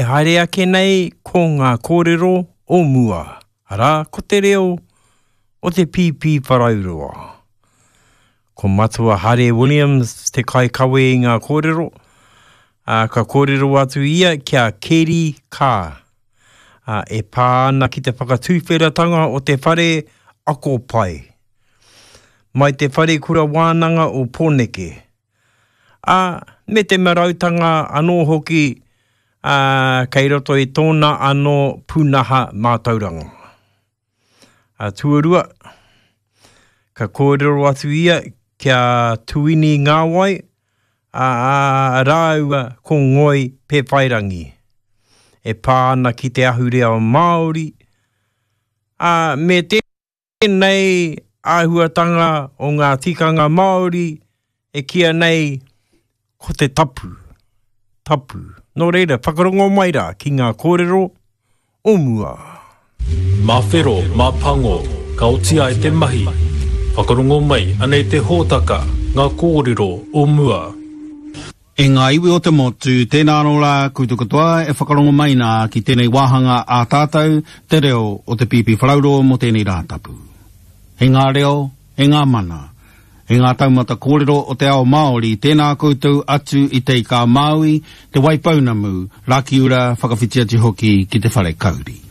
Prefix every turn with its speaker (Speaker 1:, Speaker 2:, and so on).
Speaker 1: haere ake nei ko ngā kōrero o mua, arā, ko te reo o te Pīpīwharauroa. Ko Matua Hare Williams te kaikawe i ngā kōrero, ā, ka kōrero atu ia ki a Keri Kaa, ā, e pā ana ki te whakatuwheratanga o te whare ako pai, mai te whare kura wānanga o Pōneke, ā, me te marautanga anō hoki, ā, kei roto i tōna anō pūnaha mātauranga. Ā, tuarua, ka kōrero atu ia ki a Tuini Ngāwai, ā, rāua ko Ngoi Pēwhairangi, e pā ana ki te ahurea Māori, ā, me tēnei āhuatanga o ngā tikanga Māori e kīia nei ko te tapu, tapu. Nō reira, whakarongo mai rā ki ngā kōrero o mua.
Speaker 2: Mā whero, mā pango, ka oti ai te mahi. Whakarongo mai, anei te hōtaka, ngā kōrero o mua.
Speaker 3: E ngā iwi o te motu, tēnā anō rā koutou katoa e whakarongo mai nā ki tēnei wāhanga ā tātou, te reo o te Pīpīwharauroa mō tēnei Rātapu. E ngā reo, e ngā mana, e ngā taumata kōrero o te ao Māori, tēnā koutou atu i Te Ika-a-Māui, Te Waipounamu, Rakiura, whakawhiti atu hoki ki te whare kauri.